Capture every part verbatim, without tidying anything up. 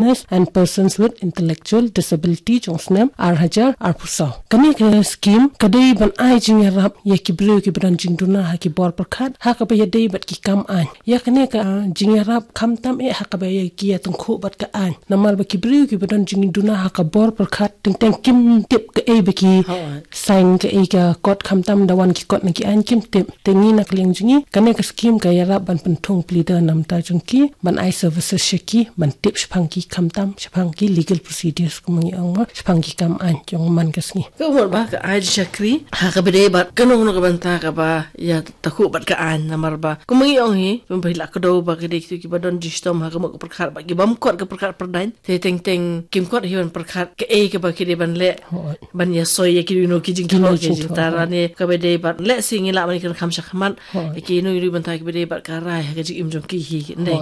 Illness and Persons with Intellectual Disability jong snem ar hajar arphew saw. Kane ka skim ka dei ban ai jingïarap ïa ki briew kiba don jingduna ha ki bor pyrkhat, ha kaba ïadei bad ki kam aiñ. Ïa kane ka jingïarap khamtam eh ha kaba ïa ki ïatyngkhuh bad ka aiñ. Namar ba ki briew kiba don jingduna ha ka bor pyrkhat teng teng kim tip kaei ba ki sign, kaei ka kot, khamtam da wan ki kot na ki aiñ kim tip. Te ngi na ka liang jong ngi, kane ka skim ka ïarap ban pynthung pleader namar jong ki, ban ai services sha ki, ban tip shaphang ki khamtam, shaphang ki legal procedures, kumba ngi ong mo, shaphang ki kam aiñ jong man ka sngi. Ka mut ba ka ai jingshakri ha kaba dei bad kano kano ka bynta kaba ïatyngkhuh bad ka aiñ, namar ba kumba ngi ong hi, kumba hi la ka dei ba ka dei kito kiba don jingshitom ha ka mut ka pyrkhat bad ki bym kot ka pyrkhat pyrdaiñ. Te teng teng kim kot hi ban pyrkhat kaei kaba ki dei ban leh, ban ïasoi ïa kino ki jingthoh, ki jingtara ne kaba dei bad leh, sngi lah ban ïakren kham shakhmat ïa kino kino bynta kiba dei bad ka rai ha ka jingim jong ki hi ne.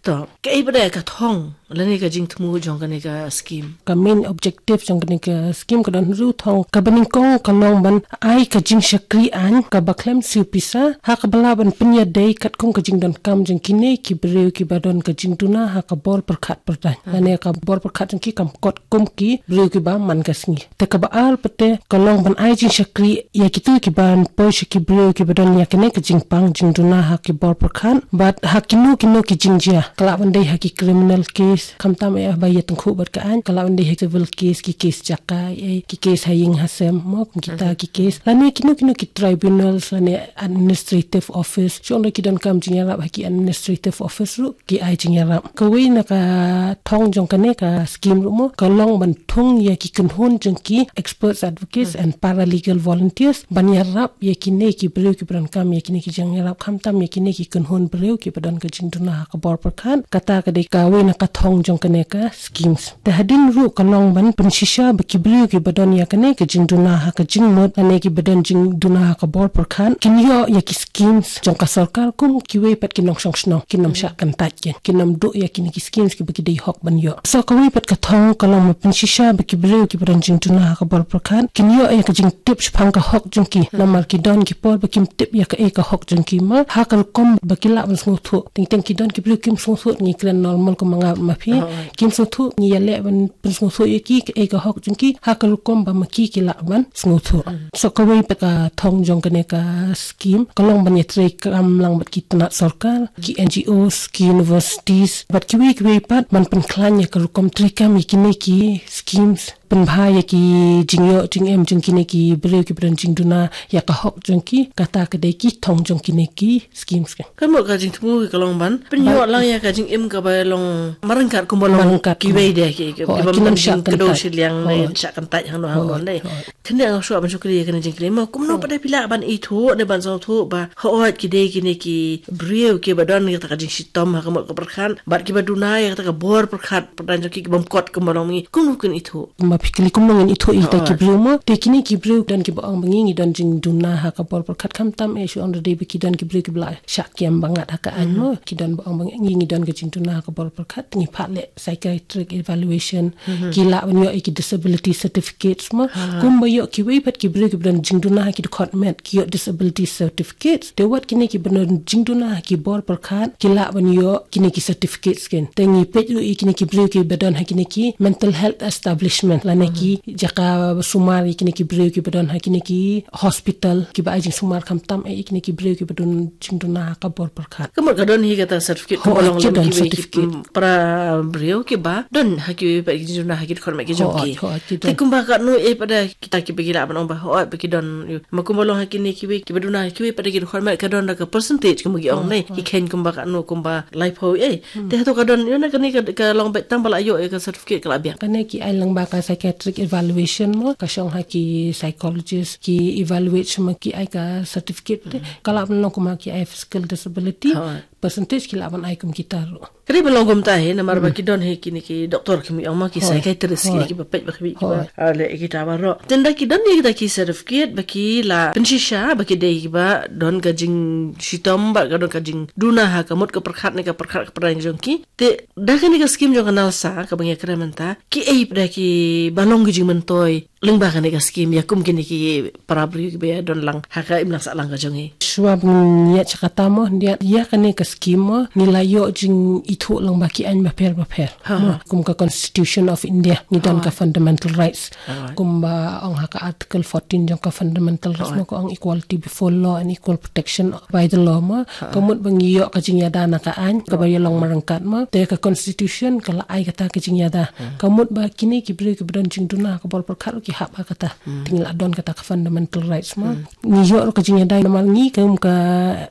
To kaei ba dei ka thong lane ka jingthmu jong kane ka skim? Ka main objective jong kane ka skim ka don hynriew thong. Kaba nyngkong ka long ban ai ka jingshakri aiñ kaba khlem siew pisa ha kaba lah ban pynïadei katkum ka jingdonkam jong kine ki briew kiba don ka jingduna ha ka bor pyrkhat pyrdaiñ. Lane ka bor pyrkhat jong ki kam kot kum ki briew kiba man ka sngi. Te kaba ar pat te ka long ban ai jingshakri ïa kito kiban poi sha ki briew kiba don ïa kane ka jingpang jingduna ha ki bor pyrkhat bad ha kino kino ki jingjia, ka lah ban dei ha ki criminal case, khamtam eh ba ïatyngkhuh bad ka aiñ, ka lah ban dei ha civil case, ki case jaka, eh, ki case ha ïing ha sem mo, kum kita ki case, lane kino kino ki tribunals lane administrative office, shu ong da ki donkam jingïarap ha ki administrative office ruh ki ai jingïarap. Kawei na ka thong jong kane ka skim ruh mo, ka long ban thung ïa ki kynhun jong ki experts, advocates and paralegal volunteers ban ïarap ïa kine ki briew kiba donkam ïa kine ki jingïarap, khamtam ïa kine ki kynhun briew kiba don ka jingduna ha ka bor pyrkhat. Kata ka dei kawei na ka thong jong kane ka schemes. Te hadien ruh ka long ban pynshisha ba ki briew kiba don ïa kane ka jingduna ha ka jingmut lane kiba don jingduna ha ka bor pyrkhat kin ïoh ïa ki schemes jong ka sorkar kum kiwei pat ki nongshong shnong, kin ym shah kyntait, kin, kin ym duh ïa kine ki schemes kiba ki dei hok ban ïoh. So kawei pat ka thong ka long ban pynshisha ba ki briew kiba don jingduna ha ka bor pyrkhat kin ïoh ïa ka jingtip shaphang ka hok jong ki. Namar ki don ki por ba kim tip ïa kaei ka hok jong ki mo, ha ka rukom ba ki lah ban sngewthuh. Teng teng ki don ki briew kim sngewthuh, ngi kren normal kum ma nga ma phi. Kim sngewthuh, ngi ïaleh ban pynsngewthuh ïa ki kaei ka hok jong ki ha ka rukom ba ma ki ki lah ban sngewthuh. So kawei pat ka thong jong kane ka skim ka long ban ïatrei kam lang bad ki tnat sorkar, ki N G Os, ki universities bad kiwei kiwei pat ban pynkhlaiñ ïa ka rukom treikam ïa kine ki schemes, pynbha ïa ki jingïoh jingem jong kine ki briew kiba don jingduna ïa ka hok jong ki. Kata ka dei ki thong jong kine ki schemes. Ka mut ka jingthmu ka long ban pynïoh lang ïa ka jingim kaba long marryngkat kumba long kiwei de, ki, ki, kiba ym shah kyntait shiliang ne shah kyntait hangno hangno de. Kane nga shu ban shukri ïa kane jingkylli mo, kumno pat de phi lah ban ithuh ne ban sngewthuh ba hooid ki dei kine ki briew kiba don ïa kata ka jingshitom ha ka mut ka pyrkhat bad kiba duna ïa kata ka bor pyrkhat pyrdaiñ jong ki, ki bym kot kumba long ngi, kumno kin ithuh? Kumba phi kylli kumno ngin ithuh ïa kita ki briew mo, te kine ki briew don kiba ong ba ngi ngi don jingduna ha ka bor pyrkhat, khamtam eh shu ong da dei ba ki don ki briew kiba la shah kiam ba ngat ha ka aiñ mo, ki don ba ong ba ngi ngi don ka jingduna ha ka bor pyrkhat, ngi phah leh psychiatric evaluation, ki lah ban ïoh ïa ki disability certificates mo. Kumba ïoh kiwei pat ki briew kiba don jingduna ha ki dkhot met ki ïoh disability certificates. Te wat kine kiba don jingduna ha ki bor pyrkhat ki lah ban ïoh kine ki certificates kin. Te ngi peit ruh ïa kine ki briew kiba don ha kine ki mental health establishment lane ki jaka sumar ïa kine ki briew kiba don ha kine ki hospital kiba ai jingsumar, khamtam eh ïa kine ki briew kiba don jingduna ha ka bor pyrkhat. Ka mut ka don hi kata certificate kumba long lem kiwei ki para briew kiba don ha kiwei pat ki jingduna ha ki dkhot met ki jong ki. Te kumba katno eh pat de kita kiba ki lah ban ong ba hooid ba ki don, ma kumba long ha kine kiwei kiba duna ha kiwei pat de ki dkhot met ka don da ka percentage kumba ki ong ne, ki kheiñ kumba katno, kumba laiphew eh. Te hato ka don ïa na kane ka, ka long beit tang ba la ïoh ïa ka certificate ka la biang? Kane ki ai lang ba ka psychiatric evaluation mo, ka shong ha ki psychologist ki evaluate sha ma ki ai ka certificate te. Ka lah ban long kumba ki ai physical disability, percentage ki lah ban ai kum kita ruh. Ka dei ban long kumta hi namar ba ki don hi kine ki doktor ki mi ong ma, ki psychiatrist ki, kiba peit ba ki, kiba leh kita baroh. Te ynda ki don ïa kita ki certificate ba ki la pynshisha ba ki dei kiba don ka jingshitom bad ka don ka jingduna ha ka mut ka pyrkhat ne ka pyrkhat ka pyrkhat jong ki. Te da kane ka skim jong ka NALSA kaba ngi ïakren mynta, kiei pat de kiba long ki jingmyntoi Lyngba kane ka skim, ïa kum kine ki para briew kiba ïa don lang ha ka imlang sahlang ka jong ngi. Shuwa ba ngin ïa shakata mo, ïa, ïa kane ka skim mo, ngi la ïoh jingithuh lyngba ki aiñ bapher bapher. Ha, mo, ha. Kum ka Constitution of India, ngi don, ha, ka fundamental rights. Alright. Kumba ong ha ka Article fourteen jong ka fundamental rights, ha, mo, ka ong equality before law and equal protection by the law mo. Ha. Ka mut ba ngi ïoh ka jingïada na ka aiñ, kaba, ha, ïa long marangkat mo. Te ka Constitution ka la ai kata ka jingïada. Ha. Ka mut ba kine ki briew kiba don jingduna ha ka bor pyrkhat ruh ki hap ha kata. Hmm. Te ngi la don kata ka fundamental rights mo. Hmm. Ngi ïoh ruh ka jingïada namar ngi kum ka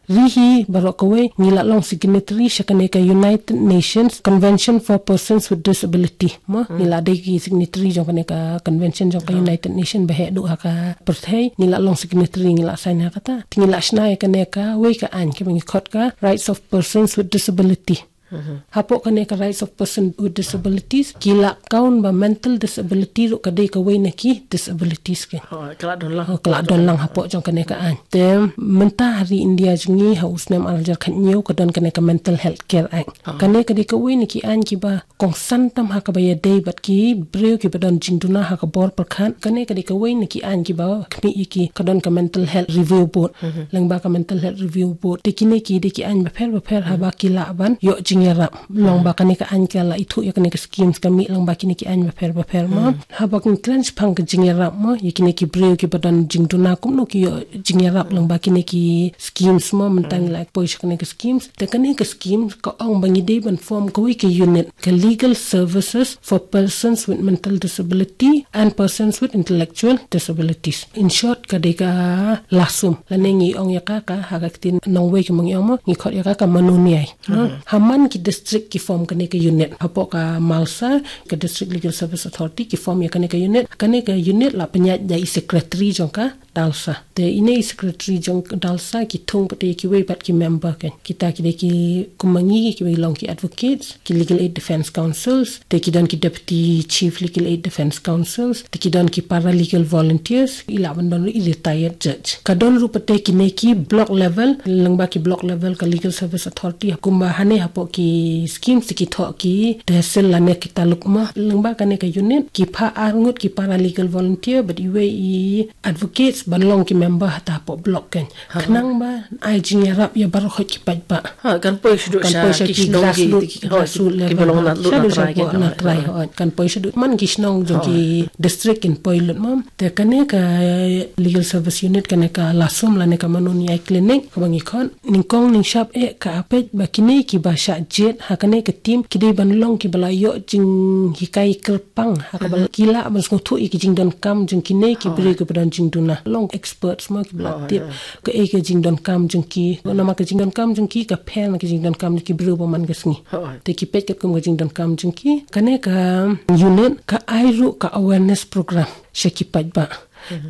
ri hi baroh kawei ngi la long signatory sha kane ka United Nations Convention for Persons with Disability. Mo, hmm, ngi la dei ki signatory jong kane ka convention jong ka, ha, United Nations ba heh duh ha ka pyrthei, ngi la long signatory, ngi la sign ha kata. Te ngi la shna ïa kane kawei ka aiñ kaba ngi khot ka Rights of Persons with Disability. Mhm. Hapoh kane ka Rights of Persons with Disabilities, ki la count ba mental disability ruh ka dei kawei na ki disabilities ki. Oh, ka la don lang. Oh, ka la don lang hapoh jong kane ka aiñ. Te mynta ha ri India jong ngi ha u snem ar hajar khathynñiew ka don kane ka Mental Health Care Act. Ah. Kane ka dei kawei na ki aiñ kiba kongsan tam ha kaba ïadei bad ki briew kiba don jingduna ha ka bor pyrkhat. Kane ka dei kawei na ki aiñ kiba khmih ïa ki, ka don ka Mental Health Review Board. Mhm. Lyngba ka Mental Health Review Board. Te kine ki dei ki aiñ bapher bapher, mhm, haba ki lah ban ïoh jingïarap. Long, mhm, ba kane ka aiñ ka la ithuh ïa kane ka schemes ka mih lyngba kine ki aiñ bapher bapher mo. Mhm. Haba kin kren shaphang ka jingïarap mo, ïa kine ki briew kiba don jingduna kumno ki ïoh jingïarap, mhm, lyngba kine ki schemes mo, mynta, mhm, ngi la poi sha kane ka schemes. Te kane ka schemes ka ong ba ngi dei ban form kawei ka unit, ka Legal Services for Persons with Mental Disability and Persons with Intellectual Disabilities. In short, ka dei ka LASUM. Lane ngi ong ïa ka, ka ha ka ktien nongwei ki mong ïa mo, ngi khot ïa ka ka manuniai. Mhm. Ha man ki district ki form kane ka unit. Hapoh ka MLSSA, ka District Legal Service Authority, ki form ïa kane ka unit. Kane ka unit la pynïaid da i secretary jong ka DLSA. Te ine i secretary jong ka DLSA ki thung pat ïa kiwei pat ki member kan. Kita ki dei ki kum ma ngi kiba long ki advocates, ki legal aid defense counsels, te ki don ki deputy chief legal aid defense counsels, te ki don ki paralegal volunteers, i lah ban don ruh i retired judge. Ka don ruh pat kine ki block level, lyngba ki block level ka Legal Service Authority, kumba hane hapoh ki schemes te ki thoh ki tehsil lane ki taluk mo. Lyngba kane ka unit, ki pha ar ngut ki paralegal volunteer, bad iwei i advocates ban long ki member hata hapoh block kan. Ha. Khnang ba ai jingïarap ïa baroh ki paidbah. Ha, kan poi shaduh, kan poi sha ki, ki shnong, ki grassroot, ki, ki, grassroot level. Kiba long na lut na trai, shaduh na trai, ha. Kan poi shaduh man ki shnong jong ki district kin poi lut mo. Te kane ka Legal Service Unit, kane ka LASUM lane ka manuniai clinic kaba ngi khot. Nyngkong nyngshap eh ka peit ba kine kiba shah jied ha kane ka team ki dei ban long kiba la ïoh jinghikai kyrpang ha kaba ki lah ban sngewthuh ïa ki jingdonkam jong kine ki briew kiba don jingduna. Long experts mo kiba la tip kaei ka jingdonkam jong ki. Namar ka jingdonkam jong ki ka pher na ka jingdonkam jong ki briew ba man ka sngi. Te ki peit katkum ka jingdonkam jong ki. Kane ka unit ka ai ruh ka awareness program sha ki paidbah.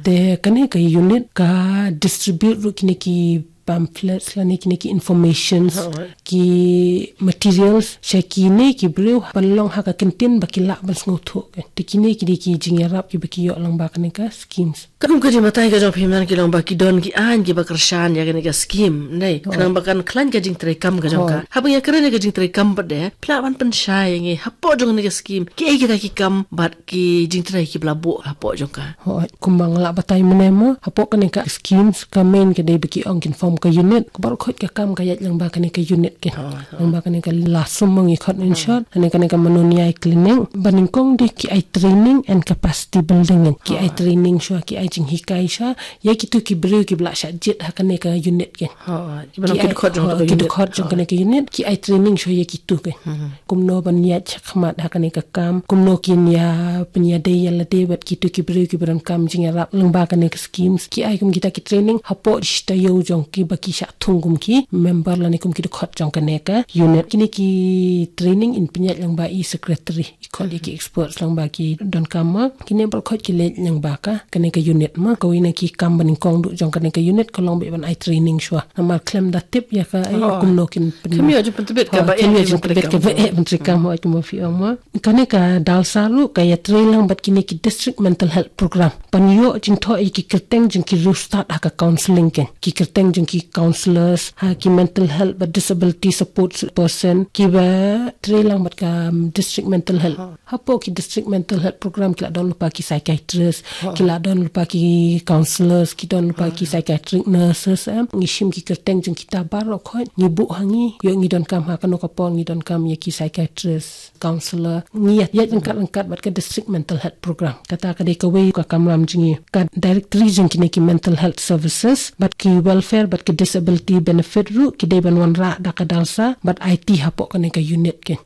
Te kane ka unit ka distribute ruh kine ki pamphlets lane kine ki informations, ki materials sha kine ki briew ban long ha ka kyntien ba ki lah ban sngewthuh. Te kine ki dei ki jingïarap kiba ki ïoh lyngba kane ka schemes. Katkum ka jingbatai ka jong phi mynta ki long ba ki don ki aiñ kiba kyrshan ïa kane ka scheme, ne? Khnang ba kan khlaiñ ka jingtreikam ka jong ka. Haba ngi ïakren ïa ka jingtreikam pat de, phi lah ban pynshai ïa ngi hapoh jong kane ka scheme, kiei kita ki kam bad ki jingtrei kiba la buh hapoh jong ka. Hooid, kumba nga la batai mynne mo, hapoh kane ka schemes ka main ka dei ba ki ong kin form ka unit, ka baroh khoit ka kam ka ïaid lyngba kane ka unit kan. Lyngba kane ka LASUM mo ngi khot in short, kane, kane ka manuniai clinic, ba nyngkong de ki ai training and capacity building kan. Ki ai training shuwa, ki ai jinghikai shuwa ïa kitu ki briew kiba la shah jied ha kane ka unit kan. Ki dkhot jong kane ka unit, ki ai training shuwa ïa kitu kan. Kumno ban ïaid shakhmat ha kane ka kam, kumno kin ïa pynïadei ïa lade bad kitu ki briew kiba donkam jingïarap lyngba kane ka schemes. Ki ai kum kita ki training hapoh shi taïew jong kiba ki shah thung kum ki member lane kum ki dkhot jong kane ka unit. Kine ki training in pynïaid lyngba i secretary, i khot ïa ki experts lyngba ki donkam mo. Kine baroh khoit ki leit lyngba ka, kane ka unit. unit ma, kawei na ki kam banyngkong duh jong kane ka unit ka long beit ban ai training shuwa. Namar khlem da tip ïa ka, eh, kumno kin pyn- Khlem ïoh jingpyntbit ka ba eh, khlem ïoh jingpyntbit ka ba eh, ban treikam, hooid, kumba phi ong ma. Kane ka DALSA ruh ka ïatrei lang bad kine ki district mental health program ban ïoh jingthoh ïa ki kyrteng jong ki riewstad ha ka counselling kein. Ki kyrteng jong ki counsellors ha ki mental health bad disability support person kiba trei lang bad ka, um, district mental health. Hapoh ki district mental health program ki la don lypa ki psychiatrist, ki la don lypa ki counsellors, ki don lypa ki psychiatric nurses, em. Ngi shim ki kyrteng jong kita baroh khoit, ngi buh ha ngi, ïoh ngi donkam ha kano ka por ngi donkam ïa ki psychiatrist, counsellor. Ngi ïaid, ïaid ryngkat ryngkat bad ka district mental health program. Kata ka dei kawei ka kamram jong ngi. Ka directory jong kine ki mental health services bad ki welfare bad ki disability benefit ruh ki dei ban wanrah da ka DALSA bad aiti hapoh kane ka unit kein.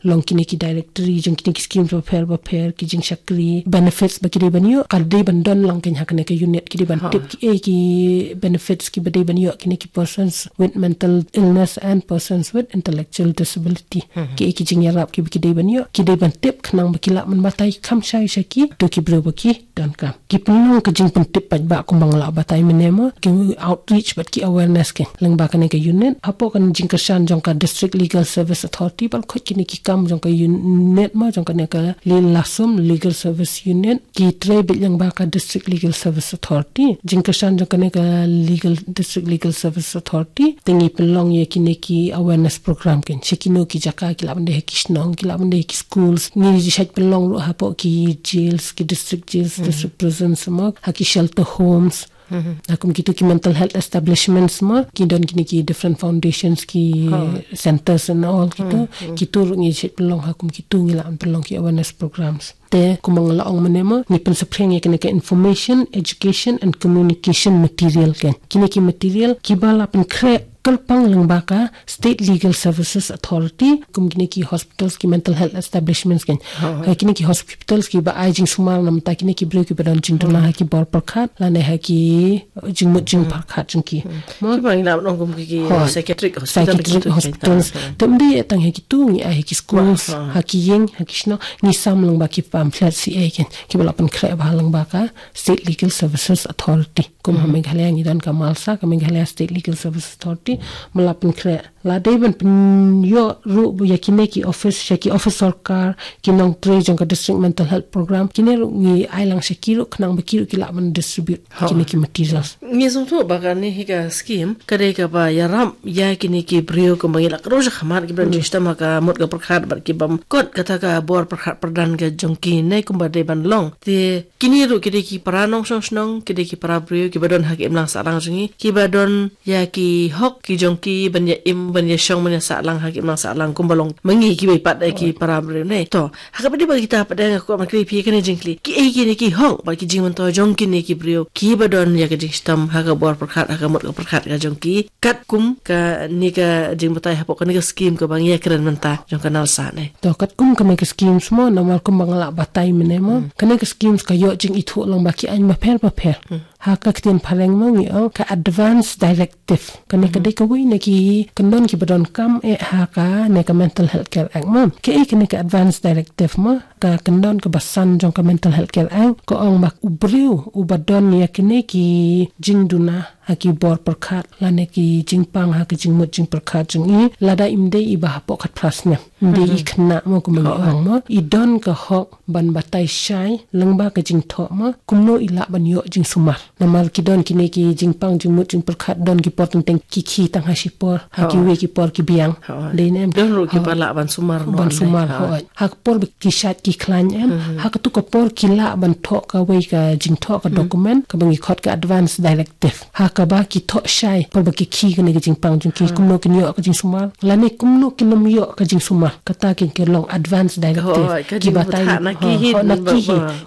Long kine ki directory jong kine ki schemes bapher bapher, ki jingshakri, benefits ba ki dei ban ïoh, ka dei ban don lang kein ha kane ka unit. Ki dei ban tip kiei ki benefits kiba dei ban ïoh kine ki persons with mental illness and persons with intellectual disability. Kiei ki jingïarap kiba ki dei ban ïoh, ki dei ban tip khnang ba ki lah ban batai kham shai sha ki, to ki briew ba ki donkam. Ki pynlong ka jingpyntip paidbah kumba nga la batai mynne mo, ki outreach bad ki awareness kein lyngba kane ka unit. Hapoh ka jingkyrshan jong ka District Legal Service Authority, baroh khoit kine ki kam jong ka unit mo, jong kane ka Lyilasum Legal Service Unit, ki trei beit lyngba ka District Legal Service Authority. Jingkyrshan jong kane ka legal, District Legal Service Authority, te ngi pynlong ïa kine ki awareness program kein. Sha kino ki jaka, ki lah ban dei ha ki shnong, ki lah ban dei ha ki schools. Ngi ju shait pynlong ruh hapoh ki jails, ki district jails, district prisons mo, ha ki shelter homes. Ha kum kito ki mental health establishments mo, ki don kine ki different foundations, ki centers and all kito. Kito ruh ngi ju shait pynlong, ha kum kito ngi lah ban pynlong ki awareness programs. Te kumba nga la ong mynne mo, ngi pynsaphriang ïa kine ki information, education and communication material kein. Kine ki material kiba la pynkhreh kyrpang lyngba ka State Legal Services Authority, kum kine ki hospitals, ki mental health establishments kein. Ha kine ki hospitals kiba ai jingsumar na bynta kine ki briew kiba don jingduna ha ki bor pyrkhat lane ha ki jingmut jingpyrkhat jong ki. Mo? Kiba ngi lah ban ong kum ki, ki psychiatric hospital, psychiatric hospitals. Te ym dei tang ha kito, ngi ai ha ki schools, ha ki ïing, ha ki shnong, ngi sam lyngba ki pamphlet kiei kein kiba la pynkhreh bha lyngba ka State Legal Services Authority. Kum ha Meghalaya ngi don ka MALSA, ka Meghalaya State Legal Services Authority, ba la pynkhreh. La dei ban pynïoh ruh ïa kine ki office, sha ki office sorkar, ki nongtrei jong ka District Mental Health Program, kine ruh ngi ai lang sha ki ruh khnang ba ki ruh ki lah ban distribute kine ki materials. Ngi sngewthuh ba kane hi ka scheme ka dei kaba ïarap ïa kine ki briew kumba ngi la kdew shakhmat, kiba don jingshitom ha ka mut ka pyrkhat bad ki bym kut kata ka bor pyrkhat pyrdan ka jong ki ne kumba dei ban long. Te kine ruh ki dei ki para nongshong shnong, ki dei ki para briew kiba don ha ka imlang sahlang jong ngi, kiba don ïa ki hok ki jong ki ban ïa im, ban ïa shong, ban ïa sahlang ha ka imlang sahlang kumba long ma ngi kiba ïa pat da ki para briew ne. To, ha kaba dei ba kita pat da nga kwah ban kylli phi kane jingkylli. Kiei kine ki hok bad ki jingmyntoi jong kine ki briew kiba don ïa ka jingshitom ha ka bor pyrkhat, ha ka mut ka pyrkhat ka jong ki, katkum kane ka jingbatai hapoh kane ka scheme kaba ngi ïa kren mynta jong ka NALSA ne? To, katkum kane ka schemes mo, namar kumba nga la batai mynne mo, kane ka schemes ka ïoh jingithuh lang bad ki aiñ bapher bapher. Ha ka ktien phareng mo ngi ong ka Advance Directive. Kane ka dei kawei na ki kyndon kiba donkam eh ha kane ka Mental Health Care Act mo. Kaei kane ka Advance Directive mo? Ka kyndon kaba san jong ka Mental Health Care Act ka ong ba u briew uba don ïa kine ki jingduna ha ki bor pyrkhat lane ki jingpang ha ki jingmut jingpyrkhat jong i, lada im dei i ba hapoh khatphra snem, im dei i khynnah mo, kumba ngi ong mo, i don ka hok ban batai shai lyngba ka jingthoh mo, kumno i lah ban ïoh jingsumar. Namar ki don kine ki jingpang jingmut jingpyrkhat, don ki por teng teng ki khie tang ha shipor, ha kiwei ki por ki biang. Dei ne em? Don ruh kiba lah ban sumar noh, ban sumar, hooid. Ha ka por ba ki shait ki khlaiñ em, ha katu ka por ki lah ban thoh kawei ka jingthoh, ka document kaba ngi khot ka Advance Directive. Ha kaba ki thoh shai por ba ki khie kane ka jingpang jong ki, kumno kin ïoh ka jingsumar lane kumno kin ym ïoh ka jingsumar. Kata kein ka long Advance Directive. Ki batai na ki hi,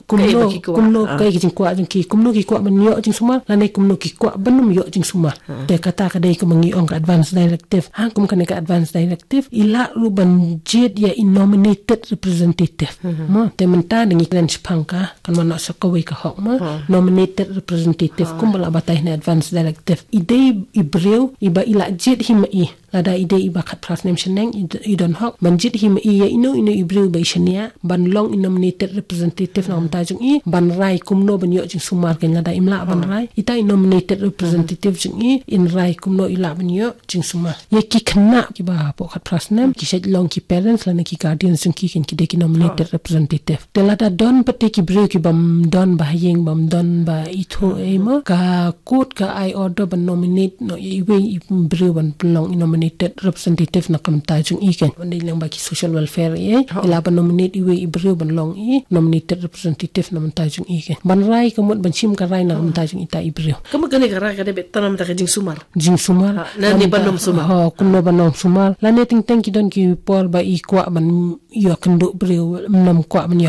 kumno, kumno, kaei ka jingkwah jong ki, kumno ki kwah ban ïoh jingsumar lane kumno ki kwah ban ym ïoh jingsumar. Te kata ka dei kaba ngi ong ka Advance Directive. Ha kum kane ka Advance Directive i lah ruh ban jied ïa i nominated representative mo. Te mynta da ngi kren shaphang ka, kan wan noh sa kawei ka hok mo, nominated representative, kumba la batai ha Advance Directive. I dei i briew iba i la jied hi ma i Lada i dei i ba khatphra snem shaneng, i d-, i don hok ban jied hi ma i ïa ino ino i briew ba i shaniah ban long i nominated representative na ka bynta jong i, ban rai kumno ban ïoh jingsumar. Kan lada im lah ban rai, ita i nominated representative jong i in rai kumno i lah ban ïoh jingsumar. Ïa ki khynnah kiba hapoh khatphra snem, ki shait long ki parents lane ki guardians jong ki, kan ki dei ki nominated representative. Te lada don pat te ki briew ki bym don ba ha ïing, bym don ba ithuh ei mo, ka court ka ai order ban nominate noh ïa iwei i briew ban pynlong i nominated representative na ka bynta jong i, kan. Ban dei lang ba ki social welfare ei, i lah ban nominate iwei i briew ban long i nominated representative na ka bynta jong i, kan. Ban rai ka mut ban shim ka rai na ka bynta jong ita i briew. Ka mut kane ka rai ka dei beit tang na ka bynta ka jingsumar. Jingsumar. Ha, lane ban ym sumar. Ha, kumno ban ym sumar. Lane teng teng ki don ki por ba i kwah ban ïoh kynduh briew, ym kwah ban ïoh